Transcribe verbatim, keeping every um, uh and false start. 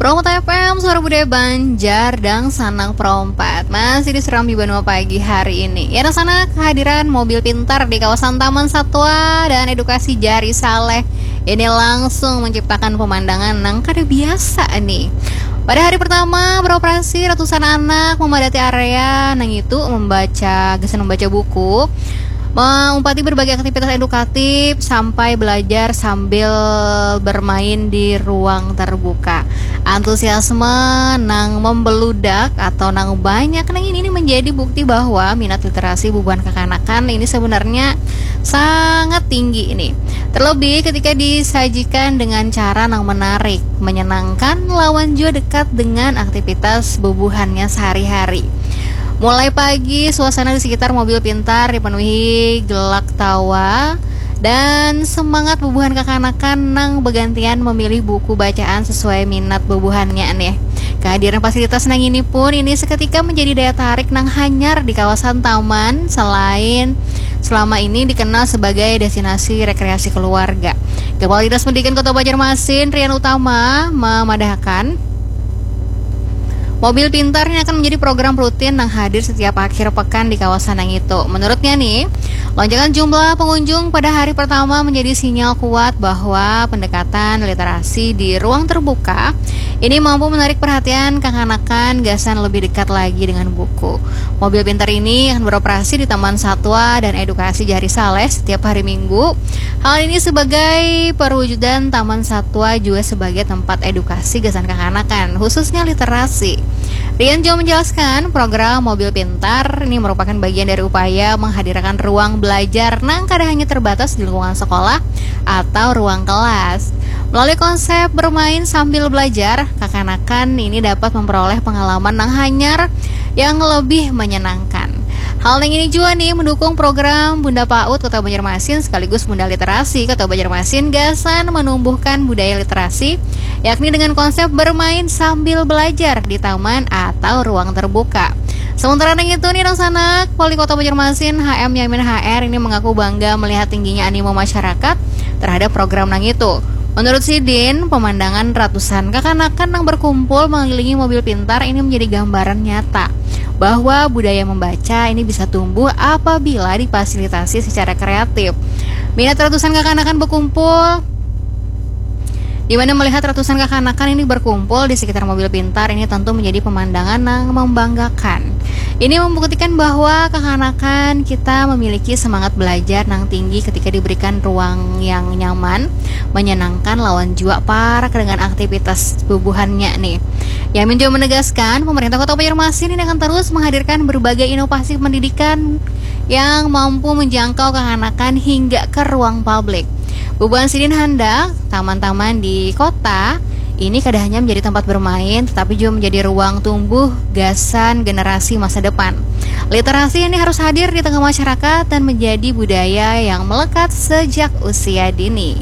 Pro Empat F M, suara budaya Banjar, dangsanak Pro Empat. Masih di Serambi Banua Pagi hari ini. Ya, dangsanak, kehadiran mobil pintar di kawasan Taman Satwa dan edukasi Jari Saleh ini langsung menciptakan pemandangan nang kada biasa nih. Pada hari pertama beroperasi, ratusan anak memadati area nang itu membaca, gasan membaca buku, meumpati berbagai aktivitas edukatif sampai belajar sambil bermain di ruang terbuka. Antusiasme nang membeludak atau nang banyak nang ini, ini menjadi bukti bahwa minat literasi bubuhan kakanakan ini sebenarnya sangat tinggi ini. Terlebih ketika disajikan dengan cara nang menarik, menyenangkan, lawan jua dekat dengan aktivitas bubuhannya sehari-hari. Mulai pagi, suasana di sekitar mobil pintar dipenuhi gelak tawa dan semangat bubuhan kakanakan nang begantian memilih buku bacaan sesuai minat bubuhannya nih. Kehadiran fasilitas nang ini pun ini seketika menjadi daya tarik nang hanyar di kawasan taman, selain selama ini dikenal sebagai destinasi rekreasi keluarga. Kepala Dinas Pendidikan Kota Banjarmasin, Rian Utama, memadahakan, mobil pintar ini akan menjadi program rutin nang hadir setiap akhir pekan di kawasan yang itu. Menurutnya nih, lonjakan jumlah pengunjung pada hari pertama menjadi sinyal kuat bahwa pendekatan literasi di ruang terbuka ini mampu menarik perhatian kakanakan gasan lebih dekat lagi dengan buku. Mobil pintar ini akan beroperasi di Taman Satwa dan Edukasi Jari Saleh setiap hari Minggu. Hal ini sebagai perwujudan Taman Satwa juga sebagai tempat edukasi gasan kakanakan, khususnya literasi. Rian juga menjelaskan, program mobil pintar ini merupakan bagian dari upaya menghadirkan ruang belajar nang kada hanya terbatas di lingkungan sekolah atau ruang kelas. Melalui konsep bermain sambil belajar, kakanakan ini dapat memperoleh pengalaman nang hanyar yang lebih menyenangkan. Hal yang ini juga nih mendukung program Bunda PAUD Kota Banjarmasin sekaligus Bunda Literasi Kota Banjarmasin gasan menumbuhkan budaya literasi, yakni dengan konsep bermain sambil belajar di taman atau ruang terbuka. Sementara nang itu nih, dangsanak, Wali Kota Banjarmasin, H M Yamin H R, ini mengaku bangga melihat tingginya animo masyarakat terhadap program nang itu. Menurut sidin, pemandangan ratusan kakanakan nang berkumpul mengelilingi mobil pintar ini menjadi gambaran nyata bahwa budaya membaca ini bisa tumbuh apabila difasilitasi secara kreatif. Minat ratusan kakanakan berkumpul, di mana melihat ratusan kakanakan ini berkumpul di sekitar mobil pintar ini tentu menjadi pemandangan yang membanggakan. Ini membuktikan bahwa kakanakan kita memiliki semangat belajar nang tinggi ketika diberikan ruang yang nyaman, menyenangkan, lawan jua parak dengan aktivitas bubuhannya nih. Yamin juga menegaskan, pemerintah Kota Banjarmasin ini akan terus menghadirkan berbagai inovasi pendidikan yang mampu menjangkau kakanakan hingga ke ruang publik. Bubuhan sidin handak taman-taman di kota ini kada hanya menjadi tempat bermain, tetapi juga menjadi ruang tumbuh gasan generasi masa depan. Literasi ini harus hadir di tengah masyarakat dan menjadi budaya yang melekat sejak usia dini.